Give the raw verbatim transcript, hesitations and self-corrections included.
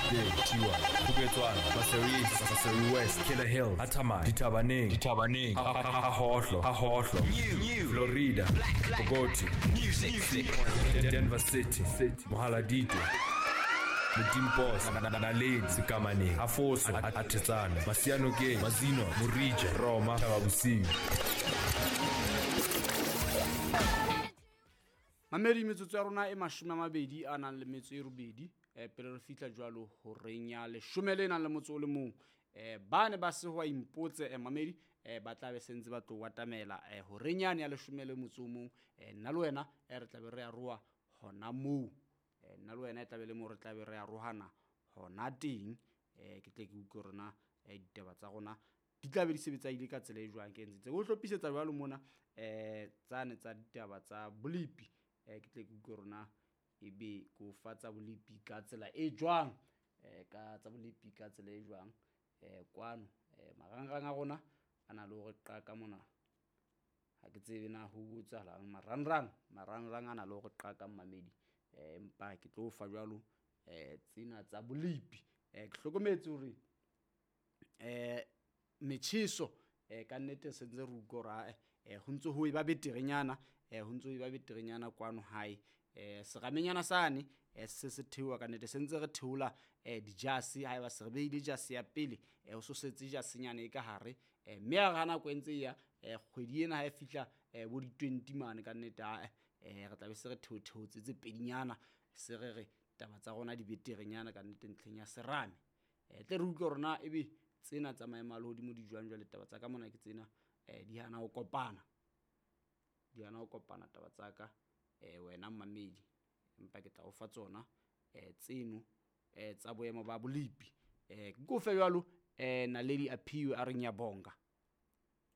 Thiwa, Phoketswana, Maseru East, Maseru West, Killer Hill, Athamai, Dithabaneng, Dithabaneng, Hahohlo, Hahohlo, Florida, Bogoti, Music, Denver City, City, Mohaladitwe, Modimpos, Naledi, Sekamaneng, Hafoso, Athetsane, Masianokeng, Mazino, Morija, Roma, Thababosiu. Mamedi metsotso ya rona e mashome a mabedi a nang le metso e robedi eh pele re fihla jwalo horeng ya leshome le nang le motso o le mong eh ba ne ba se ho impotse eh mamedi eh ba tla be sentse ba tlo watamela eh horeng yane ya leshome le motso o mong eh nna le wena eh re tla be re a roa hona moo eh nna le wena e tla be le mo re tla be re a rohana hona teng eh ke tle ke utlwe rona eh ditaba tsa rona di tla be di sebetsa ile ka tsela e jwang ke ntse o hlophisetsa jwalo mona eh tsane tsa ditaba tsa bolipi eh ke tle ke utlwe rona e be ko fa tsa bolipi ka tsela e jwang eh ka tsa bolipi ka tsela e jwang eh kwano eh marangrang a rona a na le hore qaka mona ha ke tsebe na ho botsalang marangrang marangrang a na le hore qaka mmamedi eh empa ke tlo fa jwalo eh tsena tsa bolipi eh ke hlokometse hore eh metjheso eh ka nnete se ntse re utlwa hore eh ho ntse ho e ba beterenyana eh ho ntse ho e ba beterenyana kwano hae eh seramenyana sane eh se se theoha ka nnete se ntse re theola eh dijase ha eba se re beile jase ya pele eh ho so setse jasenyana e ka hare eh mme ha re nako e ntse ya eh kgwedi ena ha e fihla eh bo di twenty mane ka nnete ha eh re tla be se re theotheotse tse pedinyana se re re taba tsa rona di beterenyana ka nnete ntlheng ya serame eh tle re utlwe rona ebe tsena tsa maemo a lehodimo di jwang jwale taba tsa ka mona ke tsena eh di hana ho kopana di hana ho kopana taba tsa ka eh wena mmamedi empa ke tla o fa tsona eh tseno eh tsa boemo ba bolipi eh ke kofe jwalo eh Naledi Aphiwe a re ngiyabonga